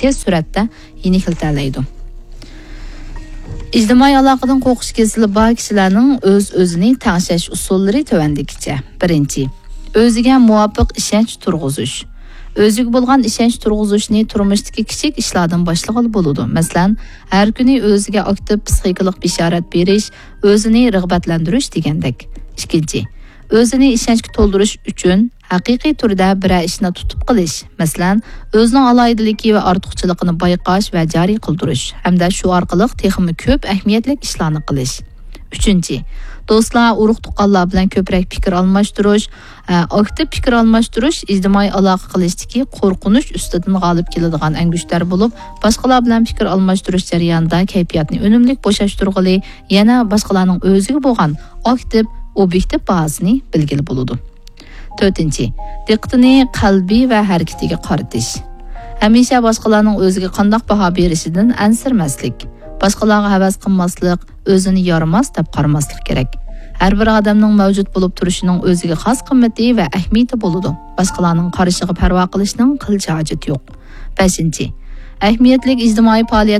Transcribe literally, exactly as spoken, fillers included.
تېز سۈرئەتتە يېنىكلىتەلەيدۇ. ئىجتىمائىي ئالاقىدىن قورقۇش كېسىلى بار كىشىلەرنىڭ ئۆز-ئۆزىنى تەڭشەش ئۇسۇللىرى تۆۋەندىكىچە. بىرىنچى، ئۆزىگە مۇۋاپىق ئىشەنچ تۇرغۇزۇش. ئۆزىگە بولغان ئىشەنچ تۇرغۇزۇشنى تۇرمۇشتىكى كىچىك ئىشلاردىن باشلىغىلى بولىدۇ. مەسىلەن، ھەر كۈنى ئۆزىگە ئاكتىپ پىسخىكىلىق بېشارەت بېرىش، ئۆزىنى رىغبەتلەندۈرۈش دېگەندەك. ئىككىنچى، ئۆزىنى ئىشەنچكە تولدۇرۇش ئۈچۈن ھەقىقىي تۈردە بىرەر ئىشنى تۇتۇپ قېلىش، مەسىلەن، ئۆزىنىڭ ئالاھىدىلىكى ۋە ئارتۇقچىلىقىنى بايقاش ۋە جارى قىلدۇرۇش ھەمدە شۇ ئارقىلىق تېخىمۇ كۆپ ئەھمىيەتلىك ئىشلارنى قىلىش. ئۈچىنچى، دوستلار، ئۇرۇق-تۇغقانلار بىلەن كۆپرەك پىكىر ئالماشتۇرۇش، ئە، ئاكتىپ پىكىر ئالماشتۇرۇش ئىجتىمائىي ئالاقە قىلىشتىكى قورقۇنچ ئۈستىدىن غالىب كېلىدىغان ئەڭگۈشتەر بولۇپ، باشقىلار بىلەن پىكىر ئالماشتۇرۇش جەريانىدا كەيپىياتنى ئۈنۈملۈك بوشاشتۇرغىلى، يەنە باشقىلارنىڭ ئۆزىگە بولغان ئاكتىپ، ئوبيېكتىپ باھاسىنى بىلگىلى بولىدۇ. تۆتىنچى، دىققىتىنى قەلبى ۋە ھەرىكىتىگە قارىتىش. ھەمىشە باشقىلارنىڭ ئۆزىگە قانداق باھا بېرىشىدىن ئەنسىرىمەسلىك، باشقىلارغا ھەۋەس قىلماسلىق، ئۆزىنى يارىماس دەپ قارىماسلىق كېرەك. ھەر بىر ئادەمنىڭ مەۋجۇت بولۇپ تۇرۇشىنىڭ ئۆزىگە خاس قىممىتى ۋە ئەھمىيىتى بولىدۇ. باشقىلارنىڭ قارىشىغا پەرۋا قىلىشنىڭ قىلچە ھاجىتى يوق. بەشىنچى، ئەھمىيەتلىك ئىجتىمائىي پائالىيەت